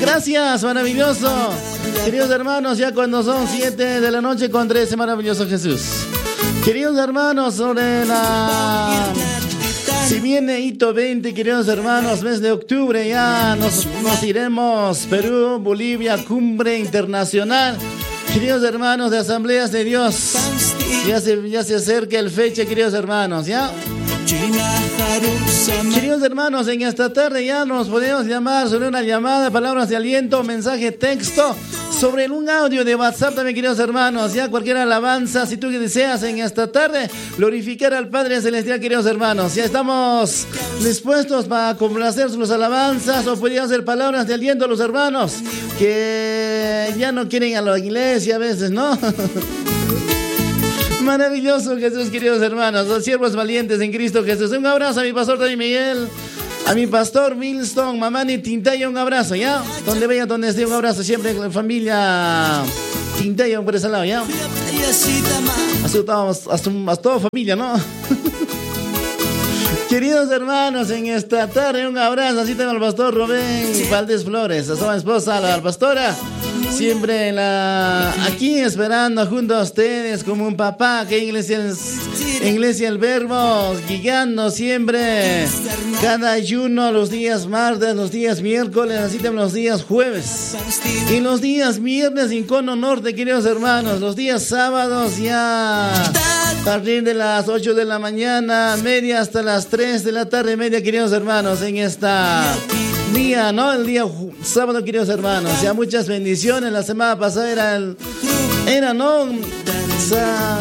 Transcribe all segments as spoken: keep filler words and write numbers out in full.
Gracias, maravilloso. Queridos hermanos, ya cuando son siete de la noche con trece, maravilloso Jesús. Queridos hermanos, sobre la... Si viene hito veinte, queridos hermanos, mes de octubre, ya nos, nos iremos. Perú, Bolivia, cumbre internacional. Queridos hermanos de Asambleas de Dios, ya se, ya se acerca el fecha, queridos hermanos, ¿ya? Queridos hermanos, en esta tarde ya nos podemos llamar sobre una llamada, palabras de aliento, mensaje texto, sobre un audio de WhatsApp también, queridos hermanos, ya cualquier alabanza, si tú deseas en esta tarde glorificar al Padre Celestial, queridos hermanos, ya estamos dispuestos para complacer sus alabanzas o podrían ser palabras de aliento a los hermanos que ya no quieren ir a la iglesia a veces, ¿no? Maravilloso Jesús, queridos hermanos, los siervos valientes en Cristo Jesús. Un abrazo a mi pastor también, Miguel, a mi pastor Milston, mamani Tintaya, un abrazo, ¿ya? Donde vaya, donde esté, un abrazo siempre con la familia Tintaya, por ese lado, ¿ya? Así estamos, hasta, hasta toda familia, ¿no? Queridos hermanos, en esta tarde un abrazo, así también al pastor Rubén Valdés Flores, a su esposa, a la pastora, siempre en la, aquí esperando junto a ustedes como un papá, que iglesia, iglesia el verbo, guiando siempre, cada ayuno, los días martes, los días miércoles, así también los días jueves. Y los días viernes en Cono Norte, queridos hermanos, los días sábados ya a partir de las ocho de la mañana, media hasta las tres de la tarde, media, queridos hermanos, en esta día, ¿no? El día ju- sábado, queridos hermanos, ya muchas bendiciones. La semana pasada era el, era, ¿no? O sea,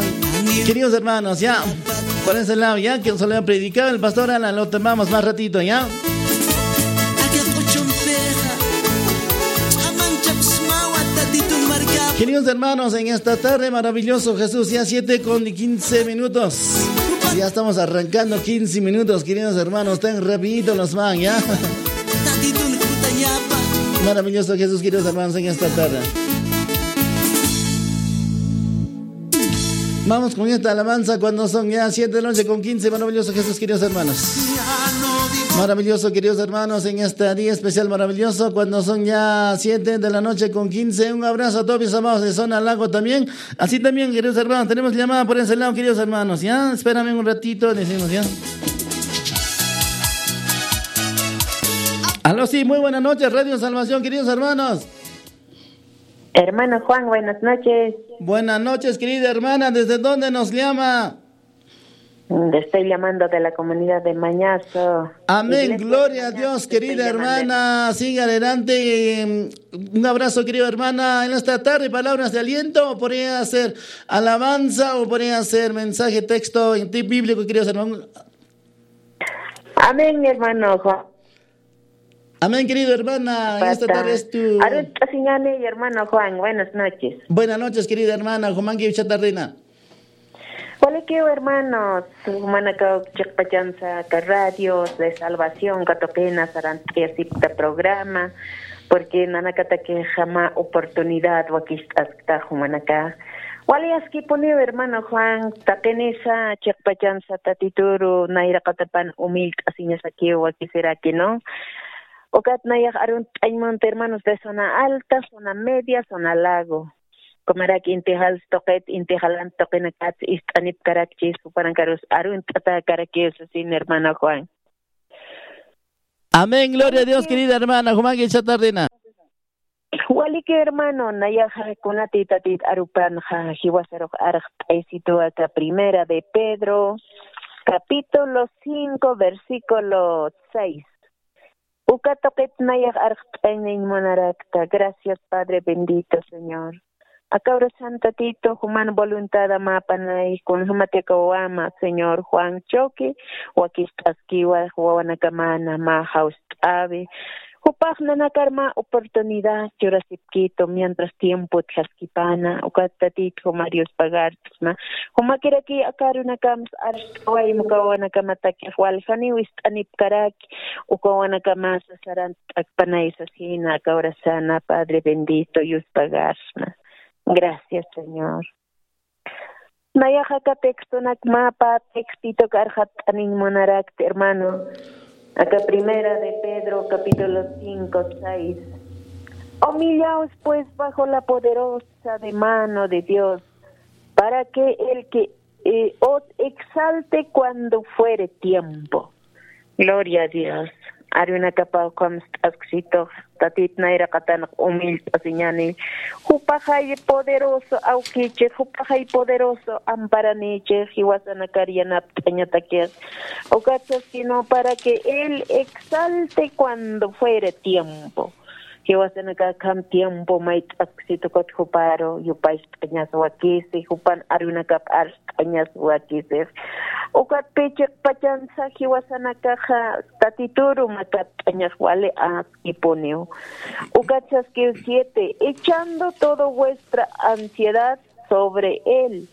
queridos hermanos, ya por ese lado, ya que solo ha predicado el pastor Alan, lo tomamos más ratito, ¿ya? Queridos hermanos, en esta tarde maravilloso Jesús, ya siete con quince minutos. Ya estamos arrancando quince minutos, queridos hermanos, tan rapidito nos van, ¿ya? Maravilloso Jesús, queridos hermanos, en esta tarde. Vamos con esta alabanza cuando son ya siete de la noche con quince. Maravilloso Jesús, queridos hermanos. Maravilloso, queridos hermanos, en este día especial, maravilloso, cuando son ya siete de la noche con quince. Un abrazo a todos mis amados de Zona Lago también. Así también, queridos hermanos, tenemos llamada por ese lado, queridos hermanos, ¿ya? Espérame un ratito, decimos, ¿ya? Aló, sí, muy buenas noches, Radio Salvación, queridos hermanos. Hermano Juan, buenas noches. Buenas noches, querida hermana. ¿Desde dónde nos llama? Le estoy llamando de la comunidad de Mañazo. Amén, iglesia de gloria a Mañazo, Dios, querida hermana. Siga adelante. Em, un abrazo, querida hermana. En esta tarde, palabras de aliento, o podría ser alabanza, o podría ser mensaje, texto en ti bíblico, queridos hermanos. Amén, hermano Juan. Amén, querido hermana. En esta tarde es tu... Arut Asiñani y hermano Juan, buenas noches. Buenas noches, querida hermana. Jumanki ucha tardena. Walikiw hermanos, jumanakaw chiqpachansa aka radios de salvación katuqina sarant'ayasipkta programa, porque nanakataki jama oportunidad wakist'askta jumanaka. Wali askipuniw hermano Juan, taqinisa chiqpachansa tatituru nayraqatapan umillt'asiñasakiw wakisiraki, ¿no? Ukat nayax arunt'añ munta hermanos de zona alta, zona media, zona lago. Kumarak inti jals tuqit, inti jalant tuqinakat ist'anipkarakchis, jupankarus arunt'atäkarakiw sasin hermano Juan. Amén, gloria a Dios, querida hermana. Jumanki ucha tardena. Waliki hermano, nayaxa kunati tatit arupanxa jiwasarux arxt'aysitu aka Primera de Pedro, capítulo cinco, versículo seis. Uka tuqit nayax arxt'añañ munarakta. Gracias, Padre bendito, Señor. Aka urasan Tatitu, juman voluntad mä apanay, kunjamati aka wawama, Señor Juan Choque, wakist'askiwa, wawanakamana mä jawst'awi. Jupax nanakar mä oportunidad churasipkitu, mientras tiempo utjaskipana, ukat Tatitu juma Dios pagart'sma. Jumakiraki aka arunakamsa arst'awayma uka wawanakamataki, waljaniw ist'anipkaraki, uka wawanakamasa sarant'akpanay sasina, aka urasana, Padre bendito, yuspagasma. Gracias, Señor. Nayaxa aka textonak mä pä textituk arxat'aniñ munarakta, hermano. Acá Primera de Pedro, capítulo cinco, seis. Humillaos, pues, bajo la poderosa de mano de Dios, para que el que, eh, os exalte cuando fuere tiempo. Gloria a Dios. Arunakapaw ukham ist'asksitux, Tatit nayraqatanx humillt'asiñäni. Jupaxay poderoso awkichix, jupaxay poderoso amparanïchix, jiwasanakar yanapt'añatakix. Ukat saskïnwa, para que él exalte cuando fuere tiempo. Jiwasanakax akham tiempo mayt'asksit ukat juparu yupayt'añas wakisi, jupan arunakap arst'añas wakisix. Ukatpï chiqpachansa jiwasanakaxa Tatituru makapt'añax wali askipuniw. Ukat saskiw siete, echando toda vuestra ansiedad sobre él,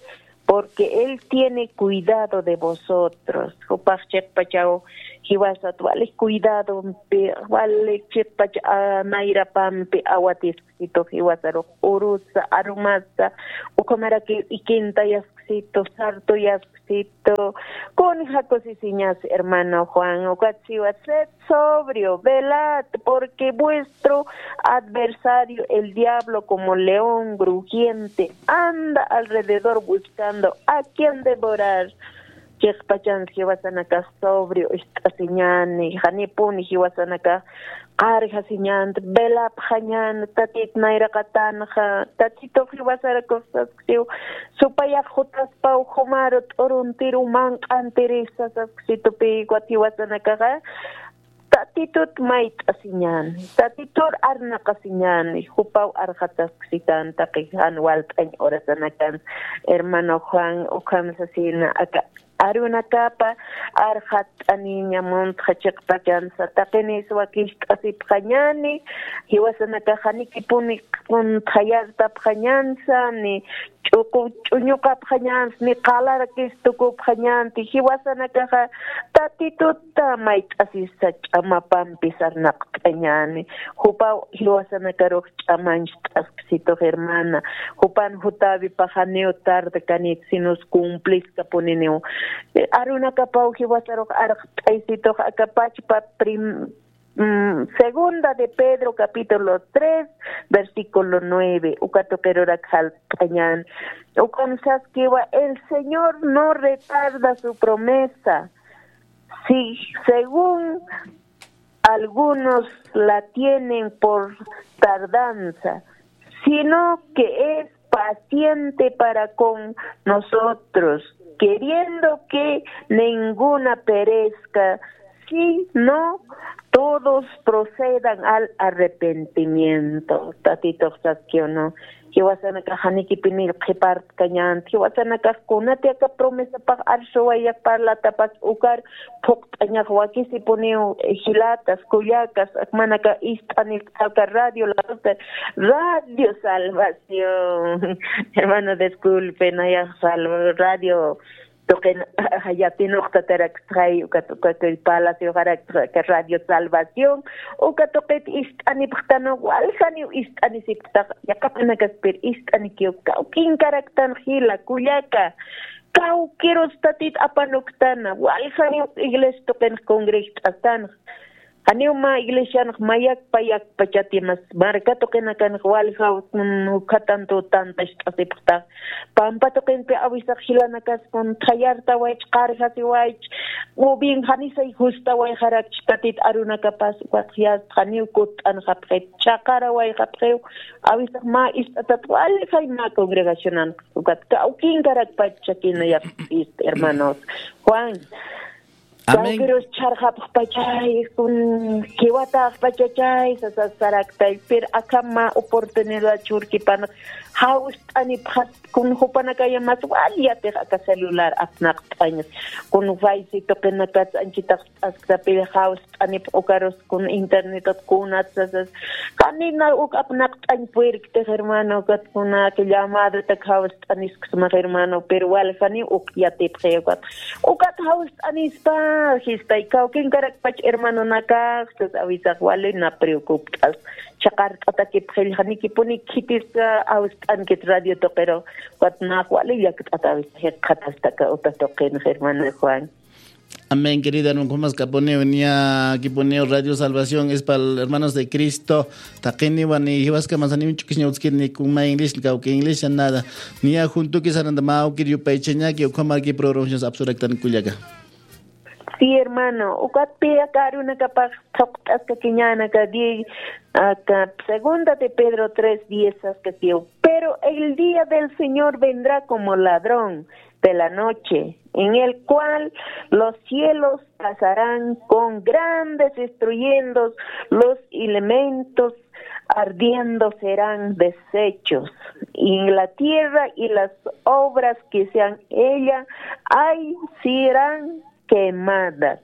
porque él tiene cuidado de vosotros. Jupax chiqpachaw jiwasat wali cuidadompi, wali chiqpach, a, nayrapampi awatisksitux jiwasarux urusa, arumasa, ukhamarakiw ikintayasksitux, sartuyasksitux. Kunja kusisiñas, hermano Juan, ukat siwa, sed sobrio, velad, porque vuestro adversario, el diablo, como león rugiente, anda alrededor buscando a quien devorar. Chiqpachans jiwasanakax sobrio ist'asiñäni, janipuni jiwasanakax qarjasiñäni, velapxañäni, Tatit nayraqatanxa, Tatitux jiwasarakux saskiw, supayax jutaspaw jumaru t'uruntiru manq'antirisa sasksitupï, ukat jiwasanakaxa Tatitut mayt'asiñäni, Tatitur arnaqasiñäni, jupaw arxatasksitän taqi jan walt'añ urasanakan. Hermano Juan, ukham sasina aka arunakapa arxatt'aniña muntxa chiqpachansa, taqinïs wakicht'asipxañäni, jiwasanakax janikipuni kuntxayartapxañänsa, ni ch'uqu ch'uñuqapxañänsa, ni qalarakis tukupxañänti, jiwasanakaxa Tatituta mayt'asisa ch'amapampi sarnaqt'añäni, jupaw jiwasanakarux ch'amancht'asksitux, hermana, jupan jutawipax janiw tardakanït, sinus cumpliskapuniniw. Eh, arunakapaw jiwasarux arxt'aysitux aka pachpa prim-, mm, Segunda de Pedro, capítulo tres, versículo nueve, uka tuqirurak jalt'añän. Ukan saskiwa, el Señor no retarda su promesa, si según algunos la tienen por tardanza, sino que es paciente para con nosotros, queriendo que ninguna perezca, sino todos procedan al arrepentimiento. Tatitux saskiw, ¿no? Jiwasanakax janikipinï qhipartkañänt, jiwasanakax kunati aka promesapax arsuwayax parlatapas ukar phuqt'añax wakisipuniw, eh, jilatas, kullakas, akmanaka ist'anipxta aka radio, la voz de Radio Salvación. Hermano, disculpe, nayax Salva-, radio tuqin yatinuqtatarakstxay, ukat, ukat Palacioxarakta Radio Salvación, uka tuqit ist'anipxtanwa, waljaniw ist'anisipxtax, yaqapanakaspir ist'anikiw, kawkinkaraktan jila, kullaka, kawkirus Tatit apanuktana, waljaniw iglesia tuqinx congregt'astanx, janiw mä iglesianx mayakpa yakpachatimas, marka tuqinakanx waljaw, mm, ukhatan tutantacht'asipxtax, pampa tuqinpi awisax jilanakas kuntxayartawaych, qarjasiwaych, o bien janisay justawayxarakch Tatit arunakapas, ukat jast janiw kutt'anxapxit, chhaqarawayxapxiw, awisax mä ist'atat waljay mä congregacionan, ukat kawkinkarakpachakina yaqpist, hermanos. Juan, Amén. Kawkirus chharxapxpachay, kun jiwataxpachachay, sasas saraktay, pero akham mä oportunidad churkipan, jawst'anipxat, kun jupanakaya mas wal yatix aka celular apnaqt'añas, kun Face tuqinakats anchitax t'asktapir jawst'anipx ukarus kun internetat kunat sasas, janina uk apnaqt'añ puirktix, hermano, ukat kunak llamadatak jawst'anisksmax, hermano, pero waljaniw uk yatipxi, ukat, ukat jawst'anispa, jistay, kawkinkarakpach hermanonakax, sas awisax wali na preocupt'as, chhaqart'atakipxi, janikipuni khitiska jawst'ankit radio tuqiru, ukat nax wali llakt'at awisax jikxatasta aka uta tuqinx, hermano Juan. Amén, querida hermana, kumas kapuniw, niya kipuniw Radio Salvación, es para hermanos de Cristo. Taqiniwan, ni jiwaskama saniw ch'ukisña utskit ni kuma inglés, ni kawki inglés, nada. Niya juntuki saranta mawkir yupaychañaki, ukhamarki programaciones apsuraktan kullaka. Sí, hermano, ukatpi aka arunakapax thuqt'askakiñäna aka diez, aka segunda de Pedro tres diez saskakiw. Pero el día del Señor vendrá como ladrón de la noche, en el cual los cielos pasarán con grandes estruendos, los elementos ardiendo serán deshechos, y la tierra y las obras que se han ella, ay, serán quemadas.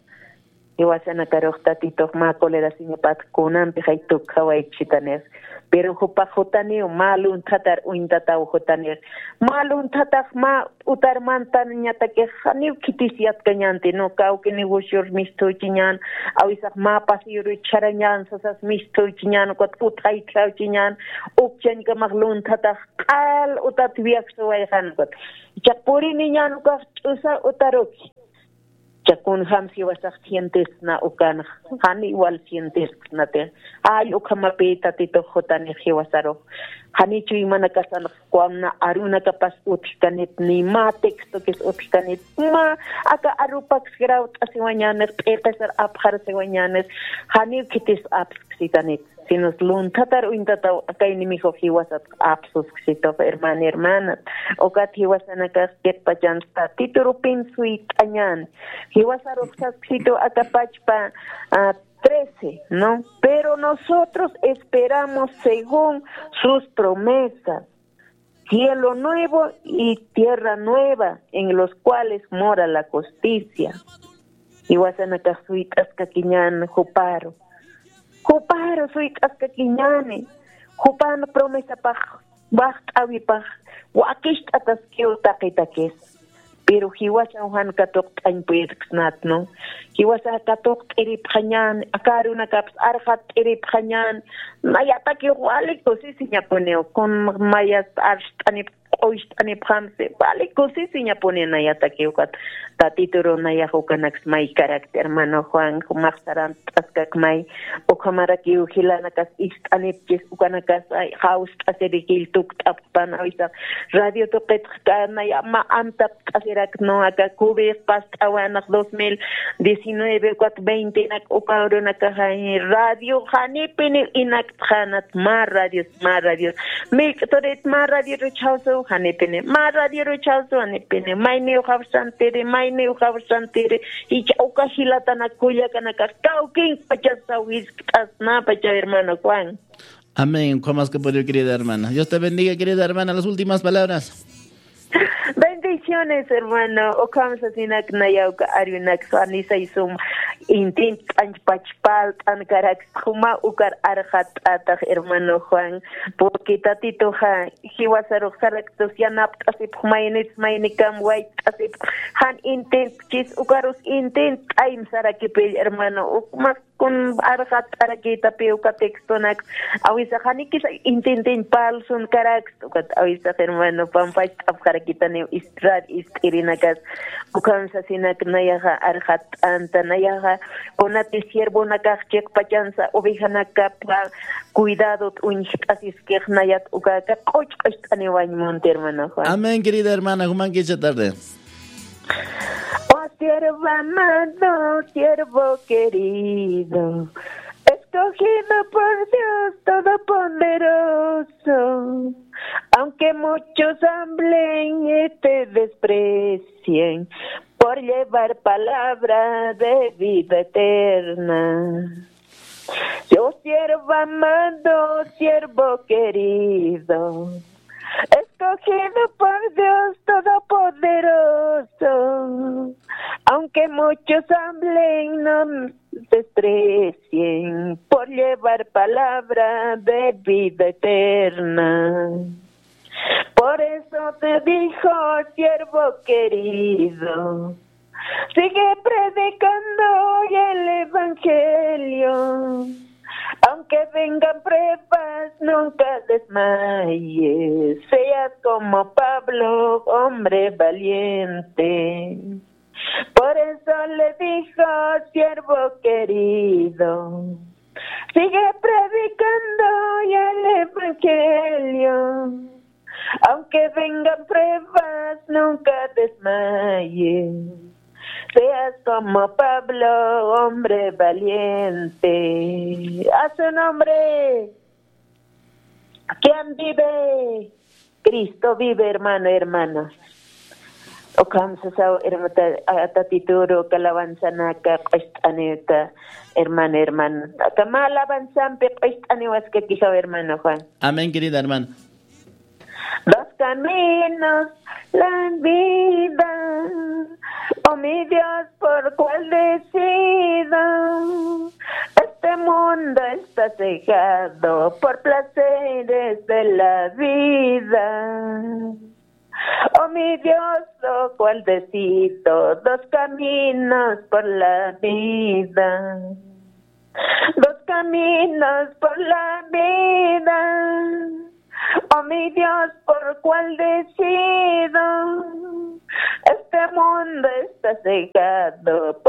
Jiwasanakarux Tatitux mä colerasiñapat kunampi jay tukjawaykchitanix. Pero jupax jutaniw, mä lunthatar uñtataw jutanix. Mä lunthatax mä utar mantanañatakix janiw khitis yatkañanti, no, kawki negocior misthuchiñan, awisax mä pasiyuru chharañan sasas misthuchiñan, ukat utjaytjawchiñan, ukchañkamax lunthatax q'al utat viajsuwayxan ukat. Ichax puriniñan ukax ch'usa utaruki. Chakun jam jiwasax sientesna ukanx, jani igual sientesnatix, ay, ukhamapï Tatitux jutanix jiwasarux, jani chuymanakasanx kuamna arunakapas utjkanit, ni mä textokis utjkanit, mä aka arupaks grawt'asiwañänix, p'iqisar apxarasiwañänix, janiw khitis apsksitanit. Sino lunthatar uñtataw aka enemigo jiwasat apsusksitux, hermana, hermana. Ukat jiwasanakax chiqpachansa Tatiturupin suyt'añän. Jiwasarux sasksitu aka pachpa, ah, trece, ¿no? Pero nosotros esperamos según sus promesas, cielo nuevo y tierra nueva en los cuales mora la justicia. Jiwasanakax suyt'askakiñän juparu. Juparu suyt'askakiñäni. Jupan promesapax, waxt'äwipax, wakicht'ataskiw taqitakis. Pero jiwasaw jan katuqt'añ puyirksnat, ¿no? Jiwasa katuqt'iripxañän, aka arunakaps arxatt'iripxañän, nayatakiw wali kusisiñapuniw, kun mayas arxt'anip q'ucht'anipxamsi, wali kusisiñapuni nayatakiw ukat. Tatituru nayax ukanaks maykarakti, hermano Juan, jumax sarant'askak may, ukhamarakiw jilanakas ist'anipchis, ukanakasa jawst'asirikil tukt'apxpan, awisax radio tuqitxka naya mä amtapt'asirak, no, aka covid past'awanax dos mil diecinueve ukat veintenak uka urunakaxa radio janipiniw inaktxänat, mä radios, mä radios. Millk'turit mä radioruchawsu, janipini. Mä radioruchawsu, janipini. Mayniw jawsantiri, mayniw jawsantiri. Icha uka jilatanak kullakanakax kawkin pachasaw jiskt'asnäpachaw, hermano Juan. Amén. Ukhamaskapuniw, querida hermana. Dios te bendiga, querida hermana. Las últimas palabras. Bendiciones, hermano. Ukham sasinak naya uka arunaks anisay sum intin t'anch pachpal t'ankarak suma ukar arxatt'atax, hermano Juan. Porque Tatituxa jiwasarux saraktus yanapt'asipx, maynits maynikam wayt'asipx, jan intintchis ukarus intint'aym sarakipill, hermano. Ukmas kun arxatt'arakitapi uka textonak, awisax janikis intintiñ palsun karaks, ukat awisax hermano pampacht'apxarakitaniw istrar ist'irinakas. Ukham sasinak nayaxa arxatt'anta, nayaxa kunati siervonakax chiqpachansa ovejanakapa cuidadot uñjt'asiskix, nayat ukaka q'uch q'ucht'aniwañ munti, hermano Juan. Amén, querida hermana, jumankicha tarde. Oh siervo amado, siervo querido, escogido por Dios Todopoderoso, aunque muchos hablen y te desprecien por llevar palabra de vida eterna. Yo siervo amado, siervo querido, escogido por Dios Todopoderoso, aunque muchos hablen, no desprecien por llevar palabra de vida eterna. Por eso te dijo, siervo querido, sigue predicando hoy el evangelio. Aunque vengan pruebas, nunca desmayes. Seas como Pablo, hombre valiente. Por eso le dijo, siervo querido, sigue predicando ya el evangelio. Aunque vengan pruebas, nunca desmayes. Seas como Pablo, hombre valiente. A su nombre. ¿Quién vive? Cristo vive, hermano, hermana. Ukham sasaw, hermata, a, tatituru, kalawansanaka, q'ust'anita, hermano, hermana. Kama alabansampi, q'ust'aniwaskakisa, hermano Juan. Amén, querida hermana. Dos caminos, la vida. Oh mi Dios, ¿por cuál decido? Este mundo está cegado por placeres de la vida. Oh mi Dios, ¿por cuál decido? Dos caminos por la vida. Dos caminos por la vida. Oh mi Dios, ¿por cuál decido? Este mundo está cegado por